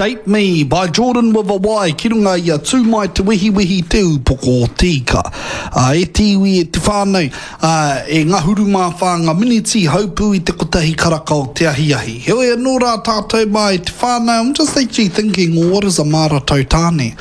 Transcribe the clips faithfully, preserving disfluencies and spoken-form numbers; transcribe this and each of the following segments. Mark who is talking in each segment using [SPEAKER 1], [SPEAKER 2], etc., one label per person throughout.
[SPEAKER 1] Shape Me by Jordan with a Y ki runga i a Tū Mai Te Wehiwehi Te Ūpoko o Te Ika. Uh, e te iwi, e te whānau, uh, e ngahuru mā whā ngā miniti haupū i te kotahi karaka o te ahiahi. Heoi anō rā tātou mā e te whānau, I'm just actually thinking, well, what is a māra tautāne?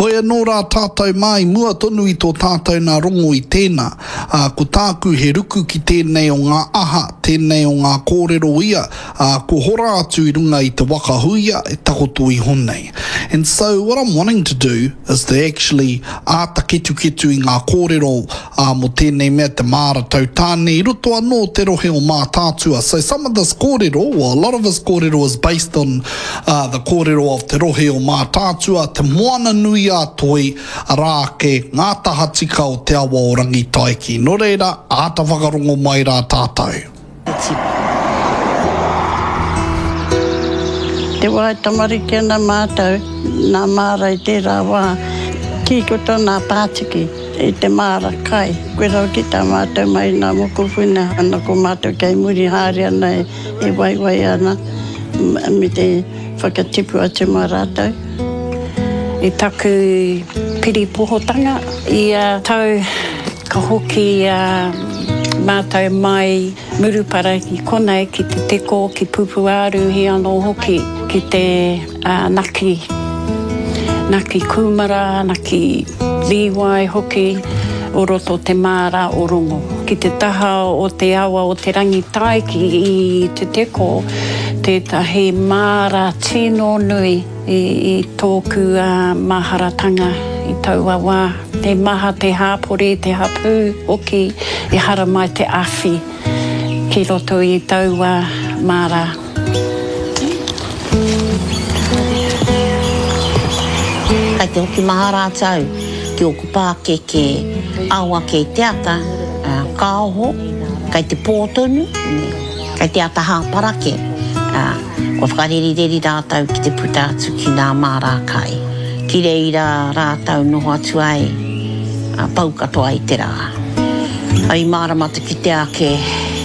[SPEAKER 1] Hoi anō rā tātou mā i mua tonu i tō tātou nā rongo i tēnā. Uh, ko tāku he ruku ki tēnei o ngā aha, tēnei o ngā kōrero ia, uh, ko hora atu i runga i te waka huia e takoto iho nei. And so what I'm wanting to do is to actually āta ketuketu i ngā kōrero uh, mō tēnei mea te māra tautāne i roto anō te rohe o Mātaatua. So some of this kōrero, well, a lot of this kōrero is based on uh, the kōrero of te rohe o Mātaatua, te moana nui a toi, arā ake ngā tahatika o te awa o Rangitaiki. Nō reira, āta whakarongo mai rā tātou.
[SPEAKER 2] Te wā e tamariki ana mātou, nā māra i tērā wā, kī ko tōna pātiki i te māra kai. Koe rau ki tā mātou mai nā mokopuna, ana ko mātou kei muri haere ana e, e waiwai ana me te whakatipu atu mā rātou.
[SPEAKER 3] I taku piripohotanga, ia tau ka hoki uh, mātou mai Murupara ki konei, ki te teko, ki Pupuāruhi anō hoki, ki te uh, naki, naki kūmara, naki līwai hoki, o roto te māra o Rongo. Ki te taha o te awa o te Rangitaiki i te teko, tētahi māra tino nui i, i tōku uh, maharatanga i taua wā. Te maha te hāpori, te hapū hoki, i hara mai te awhi ki roto i taua māra.
[SPEAKER 4] Kai te hoki mahara atu ki oku pākeke ao ake i te ata, uh, ka oho, kai te pō tonu, kai te ata hāparake. Uh, kua whakarerireri rātou ki te puta atu ki ngā māra kai. Ki reira rātou noho atu ai, uh, pau katoa i te rā. Ai mārama te kite ake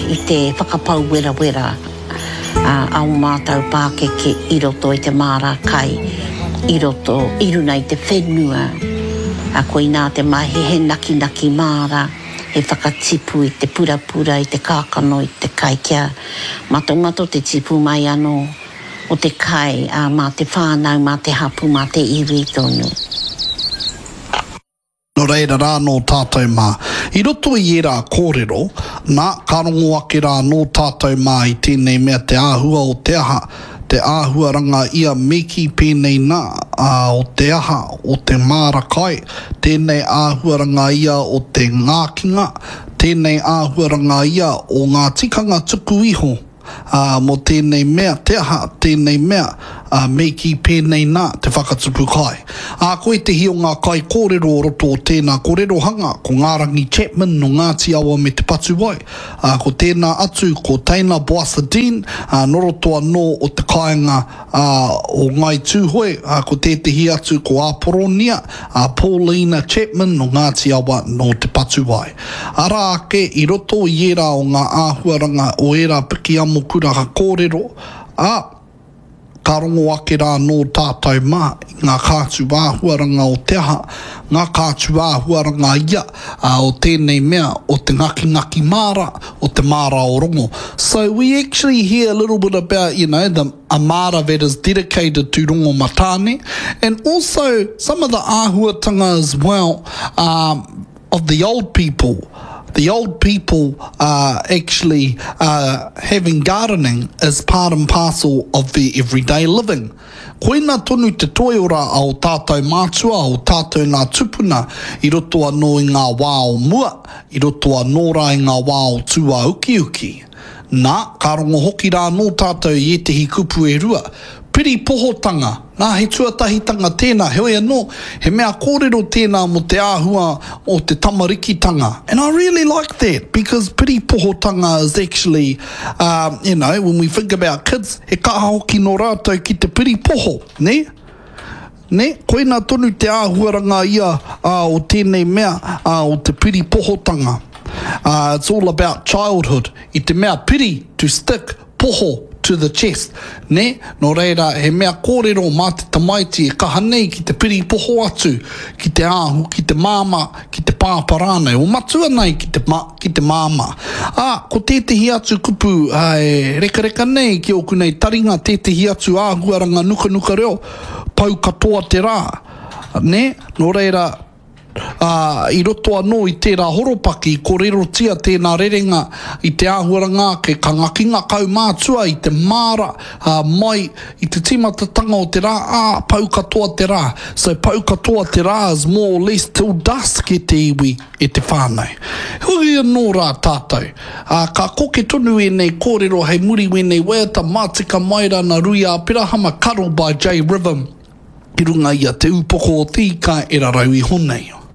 [SPEAKER 4] i te whakapau werawera uh, a o mātou pākeke i roto i te māra kai, i roto, i runa i te whenua. A koinā te mahi he nakinaki māra, he whakatipu i te purapura, i te kākano, i te kai kia matomato te tipu mai anō o te kai a mā te whānau, mā te hapu, mā te iwi tonu.
[SPEAKER 1] Nō reira rā nō tātou mā. I roto i ērā kōrero, nā, ka rongo ake rā nō tātou mā i tēnei mea te āhua o te aha, te āhuaranga ia me kī pēnei nā, ā, o te aha, o te māra kai, tēnei āhuaranga ia o te ngākinga, tēnei āhuaranga ia o ngā tikanga tuku iho, ā, mō tēnei mea, te aha, tēnei mea, ā, me kī pēnei nā, te whakatupu kai. Ā, ko ētehi o ngā kaikōrero o roto o tēnā kōrerohanga, ko Ngārangi Chapman nō Ngāti Awa me Te Patuwai, ā, ko tēnā atu ko Teina Boasa Dean, ā, nō roto anō o te kāinga ā, o Ngāi Tūhoe, ā, ko tētehi atu ko Āporonia, ā, Paulina Chapman nō Ngāti Awa nō Te Patuwai. Arā ake, i roto i ērā o ngā āhuaranga o ērā piki amokura kōrero, ā, ka rongo ake rā nō tātou mā i ngā kātu āhuaranga o te aha, ngā kātu āhuaranga ia ā, o tēnei mea o te ngakingaki māra, o te māra o Rongo. So we actually hear a little bit about, you know, the a māra that is dedicated to Rongo Matāne, and also some of the āhuatanga as well um, of the old people. The old people uh, actually uh, having gardening as part and parcel of their everyday living. Koina tonu te toiora a o tātou mātua, o tātou nā tupuna i roto anō i ngā wā o mua, i roto anō rā i ngā wā o tūāukiuki. Nā, ka rongo hoki rā anō tātou i ētehi kupu e rua. Piripohotanga, nā he tuatahitanga tēnā, heoi anō, he mea kōrero tēnā mō te āhua o te tamarikitanga. And I really like that because piripohotanga is actually, um, you know, when we think about kids, he kaha hoki nō rātou ki te piripoho, ne? Ne? Koina tonu te āhuaranga ia uh, o tēnei mea uh, o te piripohotanga. Uh, it's all about childhood. I te mea piri, to stick, poho, to the chest, nē? Nō reira, he mea kōrero mā te tamaiti e kaha nei ki te piripoho atu ki te āhu, ki te māmā, ki te pāpā rānei, o matua nei ki te, ki te māmā. Ā, ko tētehi atu kupu e rekareka nei ki ōku nei taringa, tētehi atu āhuaranga nukanuka reo, pau katoa te rā, nē? Nō reira, ā, i roto anō i tērā horopaki, i kōrerotia tēnā rerenga i te āhuaranga ake, ka ngaki ngā kaumātua i te māra, ā, mai i te tīmatatanga o te rā, ā, pau katoa te rā. So, pau katoa te rā is more or less till dusk e te iwi, e te whānau. Heoi anō rā tātou, ā, ka koke tonu ēnei kōrero hei muri wēnei waiata, Mātika mai rā nā Rui Āperahama, Cuddle by J-Rhythm. I runga i a Te Upoko o te Ika e rarau iho nei.